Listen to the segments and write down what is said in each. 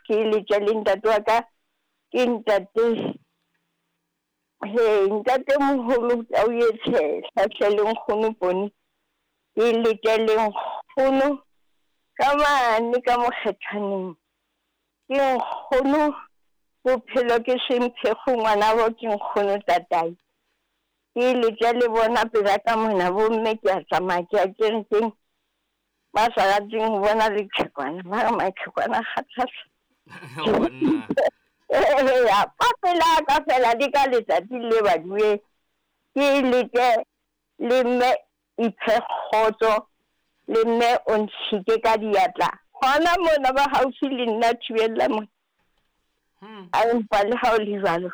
Ke letša le ntate wa ka ke ntate he ntate moholo tau ye tshehla hle le nkgono Poni. Ke letša le nkgono ka mane ka mokgethwaneng. Ke nkgono bophelo ke semphego ngwanabo ke nkgono tatai. Ke letša le bona pela ka mona bomme ke a tsamaya ke ya kerekeng. Ba sa rateng go bona leqhekwana ba re maqhekwana a kgathatsa. Eya, fa pela ka fela le ka letsatsi le baduwe ke lete le mme iphe kgotso le mme o ntshike ka diatla gona mona ba gaufi le nna thibella mona. A empa le ga o le jalo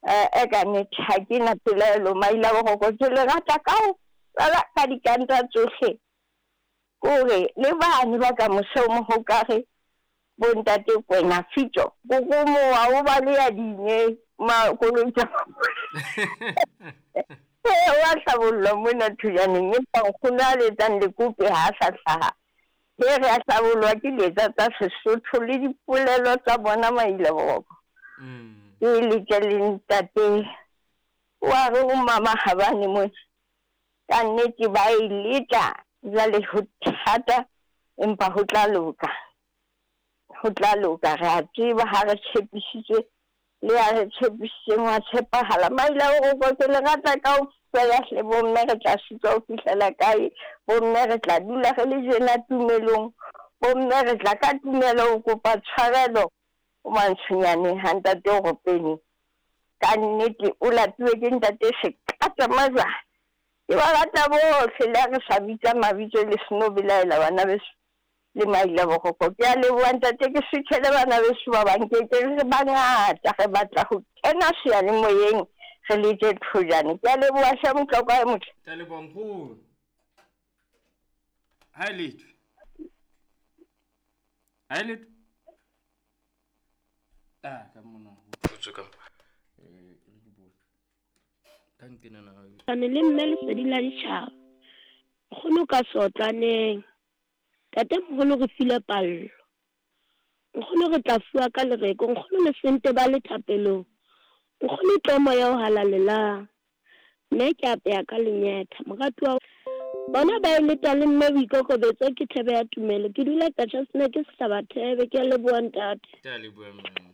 e ka nnete ga ke na pelaelo maila boroko ke le rata ka go tlala ka dikanta tsohle. Kore le bane ba ka mose o mogokare bontate Kwena Fitso kokomowa o ba le ya dinye makoloi tsa ee wa hlabollwa mona thujaneng empa nkgono a letsang lekope ha a sa hlaha. He re a hlabollwa ke letsa tsa Sesotho le dipolelo tsa bona maila boroko. Ke letša le ntate wa re o mama gabane mona ka nnete ba e letla jwale ho thata empa ho tla loka. Ho tla loka re a tseba ha re tshepisitswe le ya re tshepisitseng wa tshepahala. Maila boroko ke le rata kaofela hle bomme re tla sitwa ho fihlela kae bomme re tla dula re le jena tumelong bomme re tla ka tumelo ho kopa tshwarelo ho mantshonyaneng ha ntate o ropene. Ka nnete o latuwe ke ntate Sekata Majwane. Ke ba rata bohle le ha re sa bitsa mabitso le seno belaela bana beso le maila boroko. Ke a leboha ntate ke switchele bana beso ba bang ke ke re bangata re batla ho kena seyalemoyeng re letse thojane. Ke a leboha hle Motlokwa e motle. Ke a leboha nkgono. Ha e lethwe. Ha e lethwe. Ah, ka mona ho thotse ka eh re ke bone. Ka nkenana. Ane le mme lesedi la ditjhaba. Nkgono ka sotlaneng. Tate moholo re file pallo. Nkgono re tla fuwa ka lereko. Nkgono le sente ba le thapelong. Nkgono tlo moya o halalelang. Mme ke apeya ka lenyetha. Moratuwa bona ba e leta le mme boikokobetso ke thebe ya tumelo. Ke dula Qacha's ke sehlaba thebe. Ke a leboha ntate. Ke a leboha mme.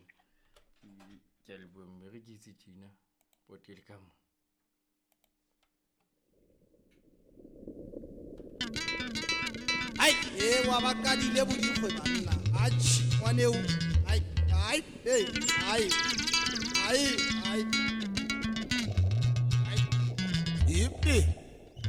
Ke a leboha mme re ke itse tjena potele ka mo. Ai, e wa ba kadile bodikgwe banna. Atjhe, ngwaneo. Ai, ai, hey, ai. Ai, ai. Ai. Ipe.